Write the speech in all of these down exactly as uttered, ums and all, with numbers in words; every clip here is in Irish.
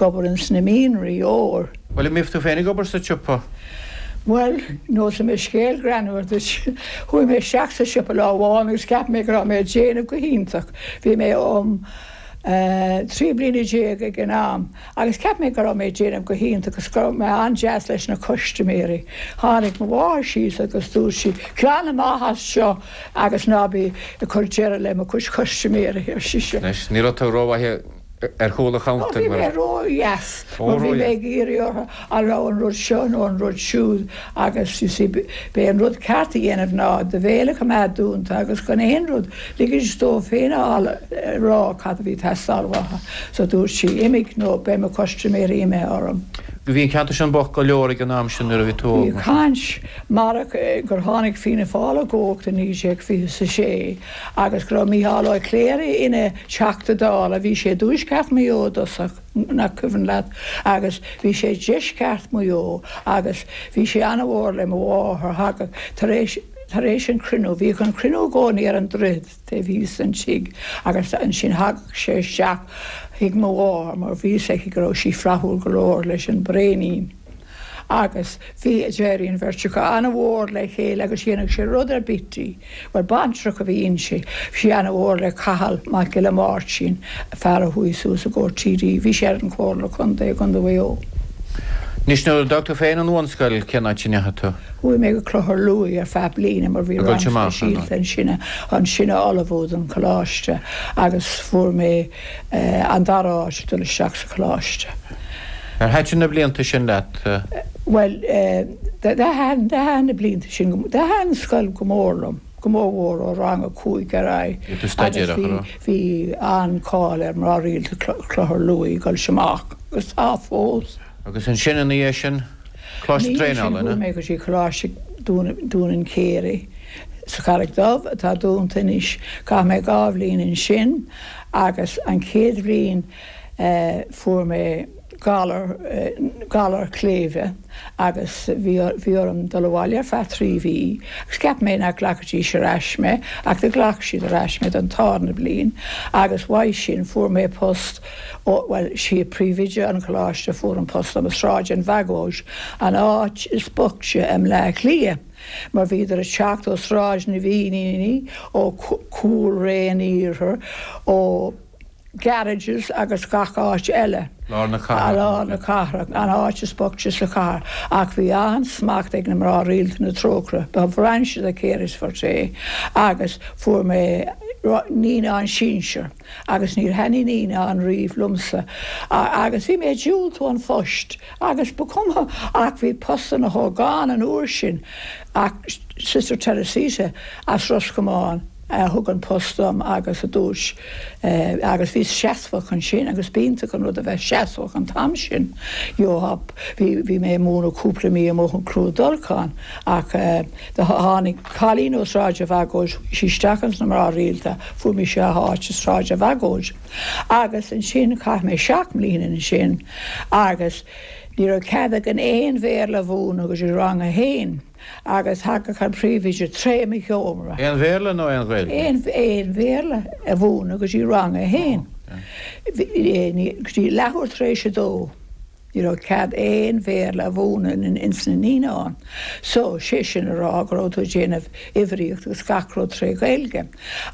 Obair ins na mianraí óir. Bhuel, an mbíodh tú féin ag obair sa tsiopa? Bhuel, neosfaidh mé scéal greannmhar duit. Chuaigh mé isteach sa siopa lá amháin agus cheap mé go raibh mé ag déanamh go hiontach. Bhí mé um trí bliana déag ag an am agus cheap mé go raibh mé ag déanamh go hiontach agus go raibh mé an-deas leis na custaiméirí. Tháinig mo mháthair síos agus dúirt sí, "Glan amach as seo agus ná bí ag cur deireadh le mo chuid custaiméirí," ar sise. Anois, ní raibh tú rómhaith ar chúl an chuntair Bhí mé ró-dheas mar bhí mé ag iarraidh orthu an raibh an rud seo nó an rud siúd agus you see b'é an rud ceart a dhéanamh ná do bhéal a choimeád dúnta agus gan aon rud ligint dóibh féin a rá cad a bhí ag teastáil uathu. So dúirt sí imigh nó beidh mo chustaiméirí imithe orm. Bhí an ceantar sin bocht go leor ag an am sin nuair a bhí tú Bhí caint marach gur tháinig Fianna Fáil i gcumhacht i naoi déag fiche is a sé agus go raibh Mícheál Ó Cléirigh ina Theachta Dála, bhí sé i dtuaisceart Mhaigh Eo i dtosach, nach cuimhin leat, agus bhí sé i deisceart Mhaigh Eo agus bhí sé an-mhór le mo mháthair, thagadh tar éis tar éis an cruinniú, bhíodh an cruinniú i gcónaí ar an droichead taobh thíos den tigh agus ansin thagadh sé isteach chuig mo mháthair mar bhí fhios aici go raibh sí flaithiúil go leor leis an bbraoinín. Agus bhí, d'éirigh an bheirt acu an-mhór le chéile agus dhéanfadh sé rud ar bith di. Bhuel, baintreach a bhí inti. Bhí sí an-mhór le Cathal Mac Giolla Máirtín, fear a chuaigh suas i gcomhair T D, bhí sé ar an Chomhairle Contae i gContae Mhaigh Eo. Anois nuair a d'fhág tú féin an bhunscoil, cén áit a ndeachaigh tú? Chuaigh mé go Clochar Lúith ar feadh bliana mar bhí rang speisialta ansin ansin a ullmhú don choláiste agus fuair mé an dara háit ag dul isteach sa choláiste. Ar thaitin na blianta sin leat? Bhuel, thaitin na blianta sin, thaitin an scoil go mór liom, go mór mhór ó rang a cúig ar aghaidh. Bhí tú staidéarach, an raibh? Bhí an-cáil ar mná rialta Clochar Lúith ag dul amach agus tá fós. Agus ansin ina dhiaidh sin, coláiste traenála, Chuaigh mé go dtí Coláiste Dún an Chéirigh sa Charraig Dubh atá dúnta anois. Chaith mé dhá bhliain ansin agus an chéad bhliain fuair mé galar galar cléibhe agus bhí bhí orm dul abhaile ar feadh trí mhí agus cheap mé nach nglacfaidís ar ais mé ach do ghlac siad ar ais mé don tarna bliain agus uaidh sin fuair mé post ó bhuel sí príomhoide an choláiste fuair an post dom i Sráid an Bhagóid an áit is boichte i mBleá Cliath mar bhíodar ag teacht ó Sráid na bhFíníní ó Chúil an Iarthair ó garages agus gach áit eile. Lár na cathrach. Lár na cathrach, an áit is boichte sa chathair, ach bhí an-smacht ag na mná rialta na Trócaire. Ba bhrainse de Cares Forte agus fuair mé naíonáin sinsir agus níor thaitnigh naíonáin riamh liomsa agus bhí mé ag diúltú an phoist agus ba chuma ach bhí post na hógán an uair sin ach Sister Teresita as Ros Comáin a thug an post dom agus a dúirt agus bhí seasmhach ansin agus b'iontach an rud a bheith seasmhach an t-am sin. Jó bhí bhí mé múineadh cúpla mí amuigh in Clúid Dolcáin ach do tháinig cailín ó Sráid an Bhagóid sí isteach ins na mná rialta fuair mise áit i Sráid an Bhagóid. Agus ansin chaith mé seacht mbliana ansin agus ní raibh cead againn aon Bhéarla a mhúineadh go dtí rang a haon. Agus thagadh an príomhoide tré mo sheomra. Aon Bhéarla nó aon Ghaeilge? Aon aon Bhéarla a mhúineadh go dtí rang a haon. Go dtí leathuair tar éis a dó. Ní raibh cead aon Bhéarla a mhúineadh ins na naíonáin. So sé sin a rá go raibh tú ag déanamh uimhríocht agus gach rud tré Ghaeilge.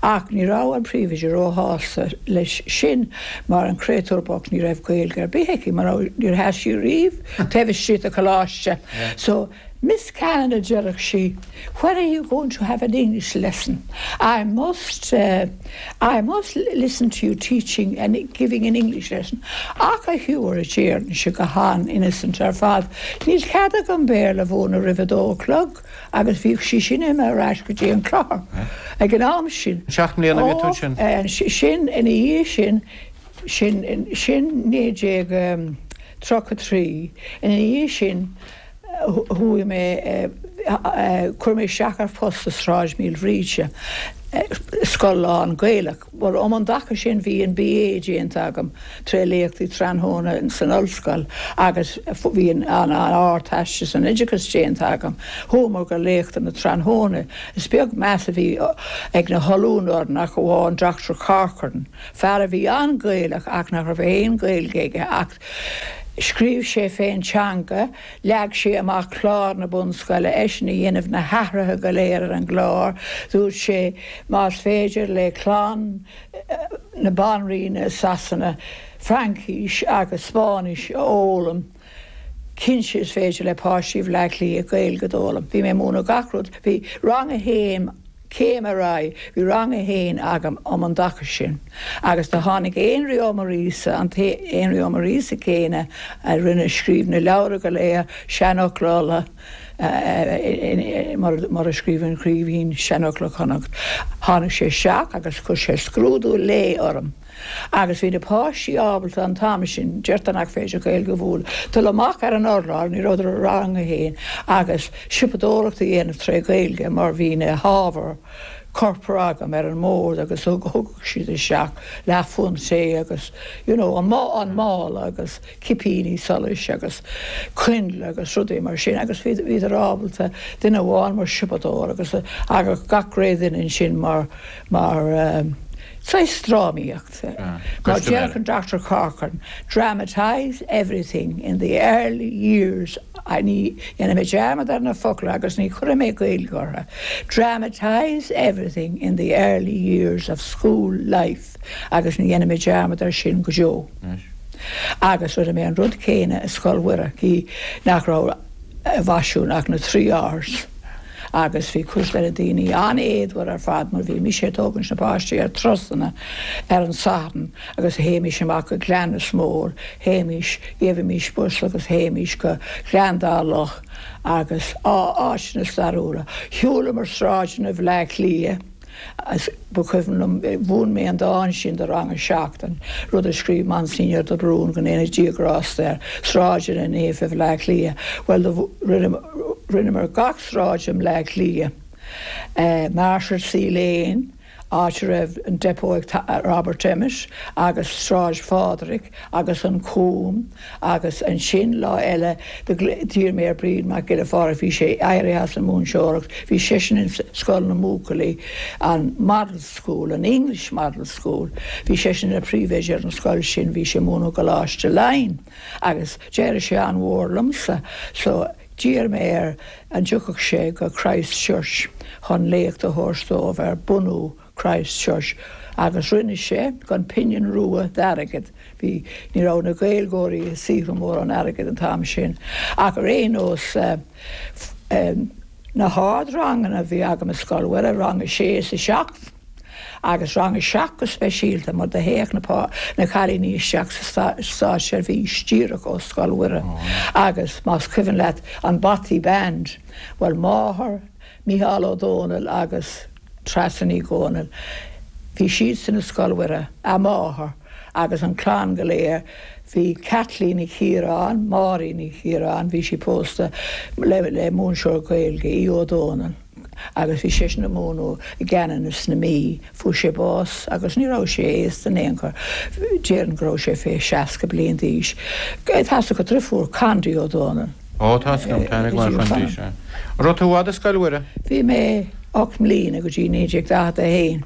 Ach ní raibh an príomhoide róshásta leis sin mar an créatúr bocht ní raibh Gaeilge ar bith aici mar níor sheas sí riamh taobh istigh de choláiste. So Miss Cannon a deireadh sí, where are you going to have an English lesson? I must uh, I must listen to you teaching and giving an English lesson. Ach a Hugh a déarfainn go han-innocent ar fad. Níl cead agam Béarla a mhúineadh roimh a dó a chlog agus bhíodh sí sin imithe ar ais go dtí an clochar ag an am sin. Seacht mbliana bhí tú sin? Sin ina dhiaidh sin sin sin naoi déag tríocha trí ina dhiaidh sin chuaigh mé Chuir mé isteach ar phost i Sráid Míl Bhríde, scoil lán Gaelach. Well um an dtaca sin bhí an B A déanta agam tré léachtaí tráthnóna san ollscoil agus bhí an an Ardteastas san oideachas déanta agam. Chuamar go léachtanna tráthnóna. Is beag meas a bhí ag na hollúna orainn ach amháin Doctor Corcoran, fear a bhí an-Ghaelach ach nach raibh aon Ghaeilge aige ach scríobh sé fén teanga, leag sé amach clár na bunscoile, eisean a dhéanamh na hathruithe go léir ar an gclár, dúirt sé más féidir le clann na banríona Sasana Fraincis agus Spáinnis a fhoghlaim, cinnte is féidir le páistí Bhaile Átha Cliath Gaeilge d'fhoghlaim. Bhí mé ag múineadh gach rud, bhí rang a haon céim ar aghaidh, bhí rang a haon agam um an dtaca sin. Agus do tháinig Énrí Ó Muiríosa, an t-Énrí Ó Muiríosa céanna a rinne scríobh na leabhra go léir, Seanfhocla Uladh, mar a scríobh an Craoibhín, Seanfhocla Chonnacht. Tháinig sé isteach agus chuir sé scrúdú lae orm. Agus bhí na páistí ábalta an t-am sin, deirtear nach féidir Gaeilge a mhúineadh, dul amach ar an urlár, ní rabhadar i rang a haon, agus siopadóireacht a dhéanamh tré Ghaeilge mar bhí na hábhair corpra agam ar an mbord agus thug siad isteach leathphunt tae agus you know an an mála agus cipíní solais agus coinnle agus rudaí mar sin agus bhíodar ábalta duine amháin mar siopadóir agus agus gach ré duine ansin mar mar um, saghas drámaíocht. Mar deir an Doctor Corcoran, dramatise everything in the early years ní dhéanfaidh mé dearmad ar na focla agus ní chuirfidh mé Gaeilge orthu. Dramatise everything in the early years of school life agus ní dhéanfaidh mé dearmad ar sin go deo. Agus rinne mé an rud céanna i Scoil Mhuire cé nach raibh i bhfaisiún ach na trí R's. Agus bhí cuid de na daoine an-éadmhar ar fad mar bhí mise ag tógaint na páistí ar turasanna ar an Satharn agus théimis amach go Gleann na Smól, théimis, gheibhimis bus agus théimis go Gleann Dá Loch agus áiteanna stairiúla. Shiúlamar sráideanna Bhaile Átha Cliath. Ba chuimhin liom, mhúin mé an dán sin do rang a seacht, an rud a scríobh Monsignor de Brún go ndéana Dia grásta air, Sráideanna Naofa Bhaile Átha Cliath. Bhuel, rinneamar gach sráid i mBaile Átha Cliath. Marshalsea Lane, áit a raibh an depot ag Robert Emmet, agus Sráid Phádraig, agus an Cúm, agus ansin lá eile d'iarr mé ar Bríd Mac Giolla Phádraig, bhí sé éirithe as an múinteoireacht, bhí seisean in Scoil na mBuachaillí, an Model School, an English Model School, bhí seisean ina phríomhoide ar an scoil sin, bhí sé ag múineadh i gColáiste Laighean, agus d'éirigh sé an-mhór liomsa, so d'iarr mé air an dtiocfadh sé go Christ Church chun léacht a thabhairt dóibh ar bunú Christ Church, agus rinne sé gan pingin rua d'airgead. Bhí, ní raibh na Gaeilgeoirí ag saothrú mórán airgid an t-am sin. Ach ar aon nós, na hardranganna a bhí agam i Scoil Mhuire, rang a sé is a seacht, agus rang a seacht go speisialta, mar do théadh na na cailíní isteach sa státseirbhís díreach ó Scoil Mhuire. Agus más cuimhin leat an Bothy Band, bhuel máthair Mícheál Ó Dónaill agus Treasa Ní Dhomhnaill, bhí siadsan i Scoil Mhuire, a máthair agus an clann go léir, bhí Kathleen Ní Chiaráin, Máirín Ní Chiaráin, bhí sí pósta le le múinteoir Gaeilge, Aodh Ó Dónaill, agus bhí seisean ag múineadh i gCeanannas na Mí, fuair sé bás agus ní raibh sé aosta in aon chor, déarfainn go raibh sé fé seasca bliain d'aois. Tá 's agat deirfiúr Condy Ó Dónaill. Ó, tá 's agam, tá mé ag mar Chondy, sea. An raibh tú i bhfad i Scoil Mhuire? Bhí mé ocht mbliana go dtí naoi déag daichead a haon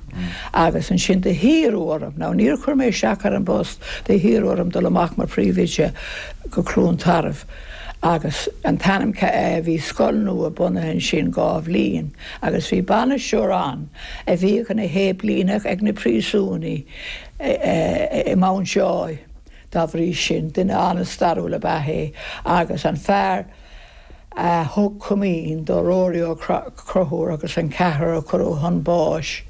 agus ansin do hiarradh orm, now níor chuir mé isteach ar an bpost, do hiarradh orm dul amach mar phríomhoide go Cluain Tarbh agus an t-ainm bhí scoil nua bunaithe ansin dhá bhliain agus bhí bainisteoir ann a bhíodh ina shéiplíneach ag na príosúnaigh i Mountjoy dá bhrí sin, duine an-stairiúil ab ea é agus an fear a thug comaoin do Rory Ó Conchúir agus an ceathrar a cuireadh chun báis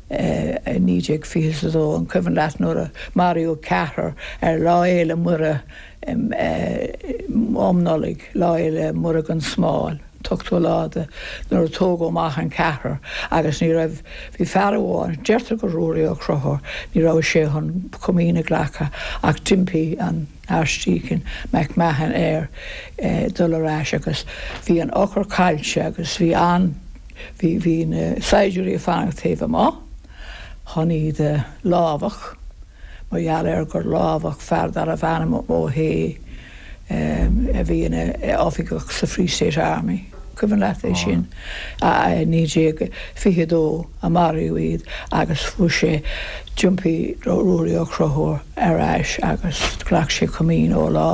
i naoi déag fiche a dó, an cuimhin leat nuair a maraíodh ceathrar ar Lá Fhéile Muire um Nollaig, Lá Fhéile Muire gan Smál, t-ochtú lá de nuair a tógadh amach an ceathrar agus ní raibh bhí fear amháin deirtear gur Ruairí Ó Conchúir ní raibh sé chun comaoin a ghlacadh ach d'impigh an Archdeacon McMahon air eh, dul ar ais agus bhí an eochair caillte agus bhí an bhí bhí na saighdiúirí ag fanacht taobh amuigh chun iad a lámhach mar gheall ar gur lámhach fear darbh ainm Ó hAodha a bhí ina oifigeach sa Free State Army. Cuimhin leat é sin naoi déag fiche dó a maraíodh iad agus fuair sé d'impigh Ruairí Ó Conchúir ar ais agus ghlac sé comaoin ó lá.